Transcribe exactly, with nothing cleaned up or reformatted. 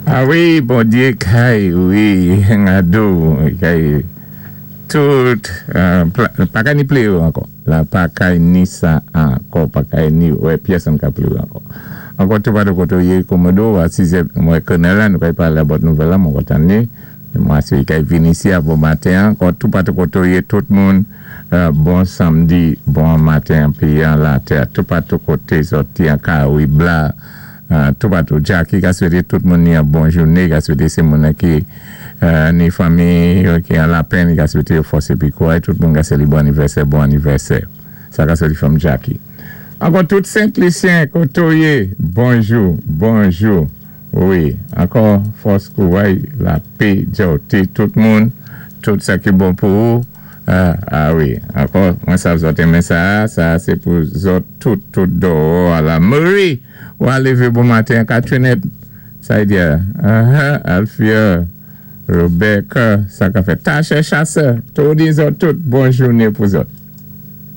A wi, Bondyé kay, wi, ngado, kay, tout, pa kay ni plé ankò. La pa kay ni sa ankò, pa kay ni, wè, pyèsonn ka plé ankò. Ankò toupatou koté ou yé Komodo, a sizè, mwen konnè la, nou kay palé about nouvèl la, mwen kontan ni. Mwen aswé kay vin isi a bon maten, ankò toupatou koté ou yé tout moun, bon samdi, bon maten, pi an latè, toupatou koté sòti an Karayib la, toupatou Jackie ka swété tout moun ni an bon jouné, ka swété sé moun ki ni fanmi ki an lapenn, ka swété yo fòs épi kouray, tout moun ka sé li bon anivèsè, bon anivèsè. Sa ka sòti from Jackie. Ankò tout Sent-Lisyen koté ou yé, bonjou, bonjou. Wi, ankò fòs kouray, lapè, djòté, tout moun, tout sa ki bon pou ou. A wi, ankò, mwen sav zòt enmen sa, sa sé pou zòt tout, tout do a la Marie, ou a lévé bon maten, Katrinette, sa y di a, Alfia, Rebecca, sa ka fè, Tache Chasseur, tout di zòt tout, bon jouné pou zòt.